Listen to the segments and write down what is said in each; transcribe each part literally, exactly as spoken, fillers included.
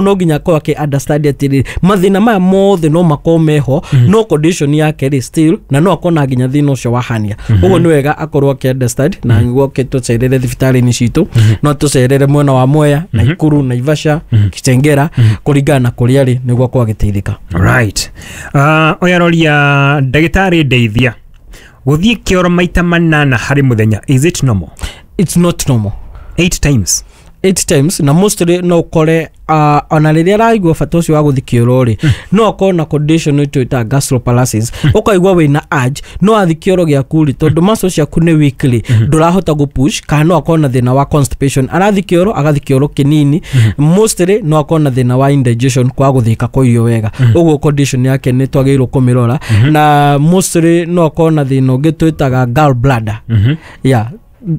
No nginya akorwo akĩ understand atĩrĩrĩ, mathĩna maya mothe no makorwo meho, no condition yake rĩ still na no akorwo na nginya thĩna ũcio wa hernia. Ũguo nĩ wega akorwo akĩ understand na nĩguo oke tũcerere thibitarĩ-inĩ citũ. No tũcerere mwena wa Mwea, Naikuru, Naivasha, Kitengela, kũringana na kũrĩa arĩ, nĩguo akorwo agĩteithĩka. Right, uh, ũyũ aroria, ndagĩtarĩ ndeithia, gũthiĩ kĩoro maita manana harĩ mũthenya, is it normal? It's not normal. Eight times. Eight times, na mostly no ũkore uh, ona rĩrĩa araigua bata ũcio wa gũthiĩ kĩoro rĩ, no akorwo na condition twĩtaga gastroparesis. Ũkaigua wĩna urge, no athiĩ kĩoro gĩaku rĩ, tondũ muscle ciaku nĩ weakly, ndũrahota gũpush. Kana no akorwo na thĩna wa constipation, arathiĩ kĩoro, agathiĩ kĩoro kĩnini. Mostly no akorwo na thĩna wa indigestion, kwaga gũthĩka kwa irio wega. Ũguo condition yake nĩ twagĩrĩirwo kũmĩrora, na mostly no akorwo na thĩna ũngĩ twĩtaga gallbladder, yeah,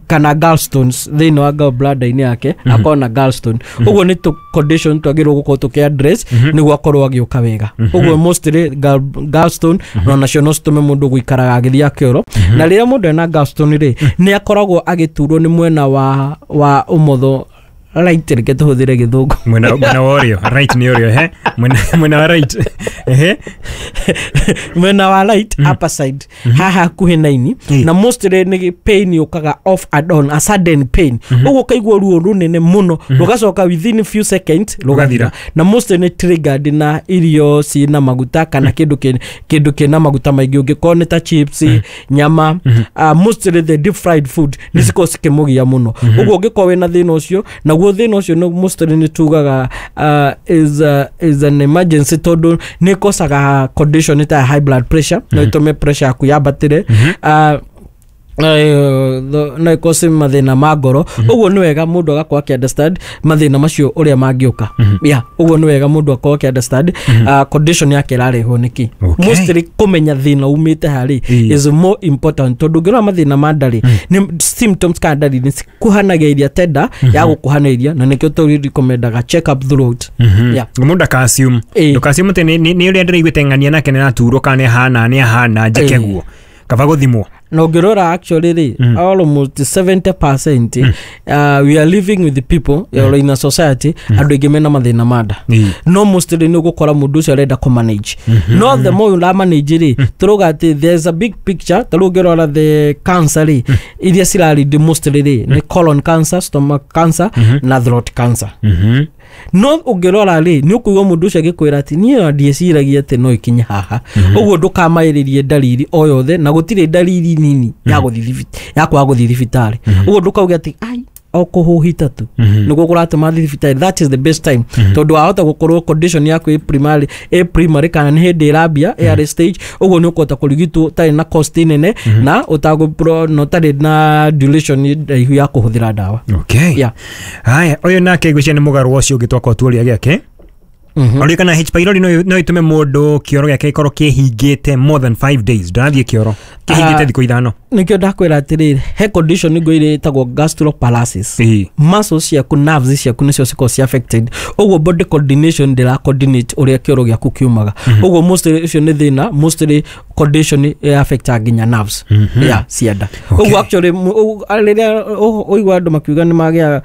kana gallstones thĩinĩ wa gallbladder-inĩ yake, akorwo na gallstone. Ũguo nĩ tũ condition twagĩrĩirwo gũkorwo tũkĩ address nĩguo akorwo agĩũka wega. Ũguo mostly gall, gallstone no nacio no citũme mũndũ gũikaraga agĩthiĩ kĩoro. Na rĩrĩa mũndũ ena gallstone rĩ, nĩ akoragwo agĩturwo nĩ mwena wa wa ũmotho, right, reke tũhũthĩre gĩthũngũ. Mwena mwena wa ũrĩo, right nĩ ũrĩo, he mwena mwena wa right, ehe. Mwena wa right upper side, haha hakuhĩ na ini. Ĩ. Na mostly nĩ pain yũkaga off and on, a sudden pain. Ũguo ũkaigua ruo rũnene mũno, rũgacoka within few seconds rũgathira. Rũgathira. Na mostly nĩ triggered na irio ciĩna maguta kana kĩndũ kĩ- kĩndũ kĩna maguta maingĩ, ũngĩkorwo nĩ ta chips, nyama, uh, mostly the deep fried food nĩ cikorwo cikĩmũgia mũno. Ũguo ũngĩkorwo wĩna thĩna ũcio, naguo thĩna ũcio nĩ mostly nĩ tugaga uh, is, uh, is an emergency, tondũ nĩ ĩkocaga condition ta ya high blood pressure, no ĩtũme pressure yaku yambatĩre, uh, eh, tho- no ĩkose mathĩna ma ngoro. Ũguo nĩ wega mũndũ agakorwo akĩ understand mathĩna macio ũrĩa mangĩũka. Yeah, ũguo nĩ wega mũndũ akorwo akĩ understand uh, condition yake ĩrarehwo nĩkĩ. Okay. Mostly kũmenya thĩna umĩte harĩ Ĩĩ. is more important, tondũ ũngĩrora mathĩna ma ndarĩ nĩ symptoms kana ndariri nĩ cikuhanagĩria tenda ya gũkuhanĩria, na nĩkĩo tũrecommendaga check up throughout. Yeah. Mũndũ ndaka-assume. Ĩĩ. Ndũka-assume atĩ nĩ- nĩ nĩ ũrĩa ndĩraiguĩte ng'ania nake nĩ araturwo kana nĩ ahana nĩ ahana njĩke. Ĩĩ. Guo kaba gũthimwo. Na ũngĩrora actually rĩ, almost seventy percent, uh, we are living with the people or in a society, andũ aingĩ mena mathĩna ma nda. Ĩĩ. No mostly nĩ ũgũkora mũndũ ũcio arenda kũmanage, no the more ũramanage rĩ, tũrauga atĩ there's a big picture. Ta rĩu ũngĩrora the cancer rĩ, iria cirarindi mostly rĩ nĩ colon cancer, stomach cancer na throat cancer. Mhm. No ũngĩrora rĩ, nĩ ũkũigua mũndũ ũcio agĩkwĩra atĩ niĩ ona ndieciragia atĩ no ikinye haha. Ũguo ndũkamaĩrĩrie ndariri o yothe, na gũtirĩ ndariri nini ya gũthiĩ thibi- ya kwaga gũthiĩ thibitarĩ. Ũguo ndũkauge atĩ ai o kũhũhita tu nĩguo kũratũma thiĩ thibitarĩ. That is the best time, tondũ wahota gũkorwo condition yaku ĩ primary ĩ primary kana nĩ hĩndĩ ĩrambia, early stage. Ũguo nĩ ũkũhota kũrigitwo ũtarĩ na cost nene na ũtagũ na ũtarĩ na duration ndaihu ya kũhũthĩra ndawa. Okay. Yeah. Haya, ũyũ nake ngwĩciria nĩ mũgarũ ũcio ũngĩ twakorwo tuoria gĩake. Mhm. Oria kana H pylori no no ĩtũme mũndũ kĩoro gĩake gĩkorwo kĩhingĩte more than five days, ndarathiĩ kĩoro kĩhingĩte Ah. thikũ ithano. Nĩkĩo ndakwĩra atĩrĩrĩ, he condition ngũire ĩtagwo gastroparesis. Ĩĩ. Muscles ciaku, nerves ciaku nĩcio cikoragwo ci affected. Ũguo body coordination ndĩra coordinate ũrĩa kĩoro gĩaku kiumaga. Ũguo mostly ũcio nĩ thĩna, mostly condition ĩ affecta nginya nerves ya cianda. Okay. Ũguo actually mu- ũguo- rĩrĩa ũ- ũigua andũ makiuga nĩ magĩa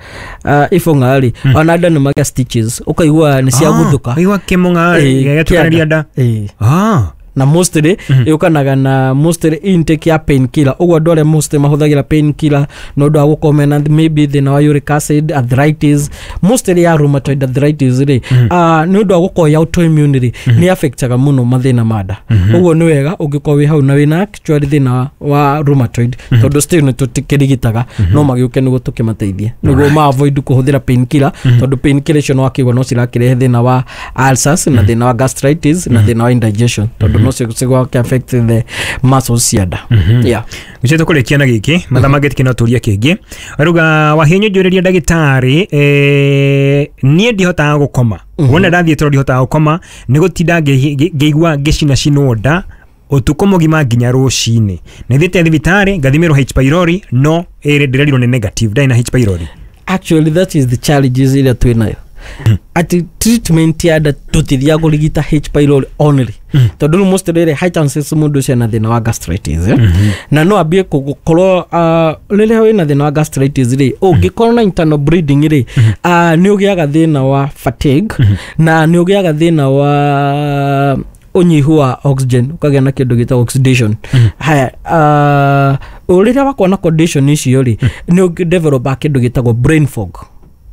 uh, ibũng'a rĩ, ona nda nĩ magĩa stitches, ũkaigua nĩ ciaguthũka. Ũigua kĩmũng'a Ĩĩ, gĩgĩtukanĩria kĩanda. nda. Ĩĩ. Ah. Na mostly yũkanaga na mostly intake ya painkiller. Ũguo andũ arĩa mostly mahũthagĩra painkiller na ũndũ wa gũkorwo mena maybe thĩna wa uric acid, arthritis, mostly ya rheumatoid arthritis rĩ, ah, nĩ ũndũ wa gũkorwo ya autoimmune rĩ, nĩ affectaga mũno mathĩna ma nda. Ũguo nĩ wega ũngĩkorwo wĩ hau na wĩna actually thĩna wa- wa rheumatoid, tondũ still nĩ tũkĩrigitaga, no magĩũke nĩguo tũkĩmateithie nĩguo ma avoid kũhũthĩra painkiller, tondũ painkiller icio no akĩigua no cirakĩrehe thĩna wa ulcers na thĩna wa gastritis na thĩna wa indigestion, tondũ no cigwake affect the muscles cia nda. Yeah. Gũcio tũkũrĩkia na gĩkĩ, mathaa mangĩ no tũrie kĩngĩ. Aruga wahinyũ, njũrĩria ndagĩtarĩ, eh, niĩ ndihotaga gũkoma. Wona ndathiĩ toro ndihotaga gũkoma, nĩ gũtinda ngĩ- ngĩ- ngĩigua ngĩcinacinwo nda ũtukũ mũgima nginya rũcinĩ. Nĩ thiĩte thibitarĩ ngathimĩrwo H pylori, no ĩrĩ ndĩrerirwo nĩ negative, ndarĩ na H pylori. Actually that is the challenges ĩrĩa twĩ nayo, atĩ treatment ya nda tũtithiaga kũrigita H pylori only. Tondũ rĩu mostly rĩ, high chances mũndũ ũcio ena thĩna wa gastritis, eh? Na no ambie gũkorwo uh, rĩrĩa wĩna thĩna wa gastritis rĩ, ũngĩkorwo na internal bleeding rĩ, uh, nĩ ũgĩaga thĩna wa fatigue na nĩ ũgĩaga thĩna wa ũnyihu wa oxygen, ũkagĩa na kĩndũ gĩtagwo oxidation. Haya, uh, rĩrĩa wakorwo na condition icio rĩ, nĩ ũdevelopa kĩndũ gĩtagwo brain fog,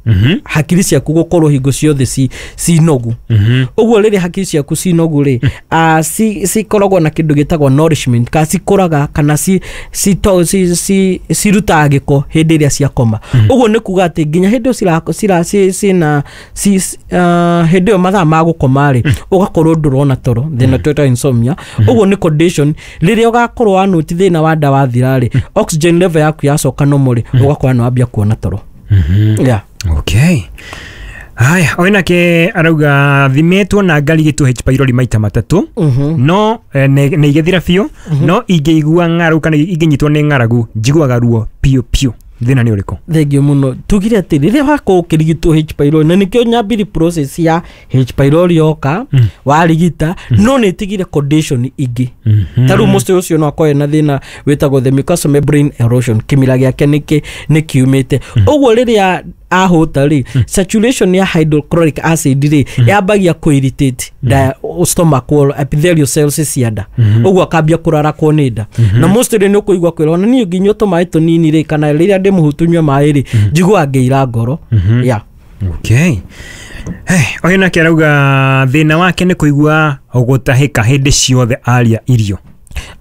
Mhm. hakiri ciaku gũkorwo hingo ciothe ci ci nogu. Mhm. Ũguo rĩrĩa hakiri ciaku ci nogu rĩ, ah, ci cikoragwo na kĩndũ gĩtagwo nourishment, kana cikũraga kana ci ci to- ci ci cirutaga gĩko hĩndĩ ĩrĩa ciakoma. Ũguo nĩ kuga atĩ nginya hĩndĩ ĩyo cira cira ci cina ci ah, hĩndĩ ĩyo mathaa ma gũkoma rĩ, ũgakorwo ndũrona toro, thĩna twĩtaga insomnia. Ũguo nĩ condition rĩrĩa ũgakorwo wanoti thĩna wa nda wathira rĩ, oxygen level yaku yacoka normal rĩ, ũgakorwo nĩ wambia kuona toro. Yeah. Okay, haya, ũyũ nake arauga thimĩtwo na ngarigitwo H pylori maita matatũ, Mhm. no eh, nĩ nĩ igĩthira biũ, no ingĩigua ng'aragu kana ingĩnyitwo nĩ ng'aragu njiguaga ruo piũ piũ. Thĩna nĩ ũrĩkũ? Thengio mũno. Tugire atĩ rĩrĩa wakorwo ũkĩrigitwo H pylori, na nĩkĩo nyambiri process ya H pylori yoka warigita, no nĩ ĩtigire condition ingĩ. Ta rĩu mũciĩ ũcio no akorwo na thĩna wĩtagwo the mucosal membrane erosion, kĩmira gĩake nĩkĩ nĩ kiumĩte. Ũguo rĩrĩa ahũta rĩ, saturation ya hydrochloric acid rĩ yambagia kũ irritate da stomach wall epithelial cells cia nda, ũguo akambia kũrarakwo nĩ nda. Na mostly nĩ ũkũigua kwĩrwo ona niĩ ngĩnyua tũmaĩ tũnini rĩ, kana rĩrĩa ndĩ mũhutu nyue maĩ rĩ, njiguaga ngĩira ngoro, yeah. Okay. Hey, ũyũ nake arauga thĩna wake nĩ kũigua gũtahĩka hĩndĩ ciothe aria irio.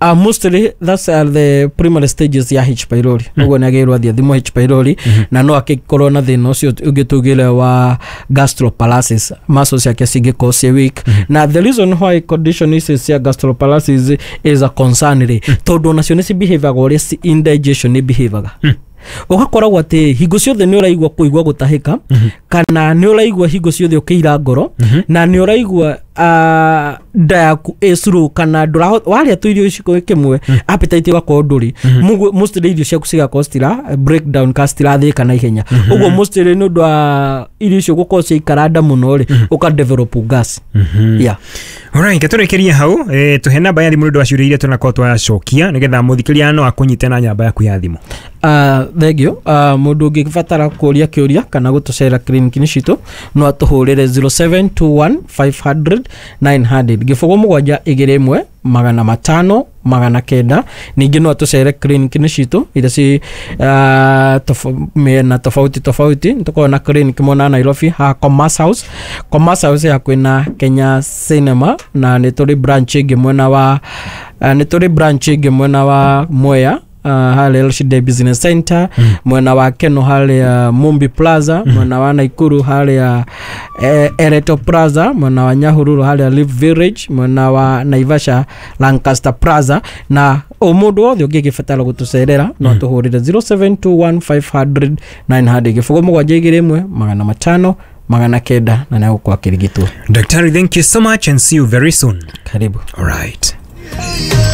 Uh, mostly that's uh, the primary stages ya H pylori. Ũguo nĩ agĩrĩirwo athiĩ athimwo H pylori, na no akĩkorwo na thĩna ũcio ũngĩ tugire wa gastroparalysis, muscles ciake cingĩkorwo ciĩ weak. Na the reason why condition ici cia gastroparalysis is a concern rĩ, tondũ onacio nĩ cibehaviaga ũrĩa ci- indigestion nĩ behaviaga. Ũgakoragwo atĩ hingo ciothe nĩ ũraigua kũigua gũtahĩka, kana nĩ ũraigua hingo ciothe ũkĩira ngoro, na nĩ ũraigua ah, nda yaku ĩ slow, kana ndũraho warĩa tu irio iciko kĩmwe, appetite ĩgakorwo ndũrĩ. Mũguo mostly irio ciaku cigakorwo citira break down kana citirathĩĩka na ihenya. Ũguo mostly nĩ ũndũ wa irio icio gũkorwo ciaikara nda mũno rĩ, ũka develop gas, yeah. Alright, tũrĩkĩrie hau, eh, tũhe namba ya thimũ nĩ ũndũ wa ciũria iria tũnakorwo twacokia nĩgetha mũthikĩrĩria no akũnyite na namba yaku ya thimũ. Uh, thengio. uh, mũndũ ũngĩbatara kũria kĩũria kana gũtũcera clinic-inĩ citũ no atũhũrĩre zero seven two one five hundred nine hundred, gĩbũgũ mũgwanja igĩrĩ ĩmwe magana matano magana kenda. Ningĩ no atũcere clinic-inĩ citũ iria ci uh, tof- mĩena tofauti tofauti. Nĩtũkoragwo na clinic mwena wa Nairobi haha Commerce House, Commerce House hakuhĩ na Kenya Cinema, na nĩ tũrĩ branch ĩngĩ mwena wa uh, nĩ tũrĩ branch ĩngĩ mwena wa Mwea, uh, harĩa L C D Business Center, mm. mwena wa Keno harĩa Mumbi Plaza, mm. mwena wa Naikuru harĩa eh, Ereto Plaza, mwena wa Nyahururu harĩa Live Village, mwena wa Naivasha Lancaster Plaza. Na o mũndũ wothe ũngĩgĩbatara gũtũcerera no tũhũrĩre zero seven two one five hundred nine hundred, gĩbũgũ mũgwanja igĩrĩ ĩmwe magana matano magana kenda, na nĩegũkorwo akĩrigitwo. Daktari, thank you so much and see you very soon. Karibu. Alright.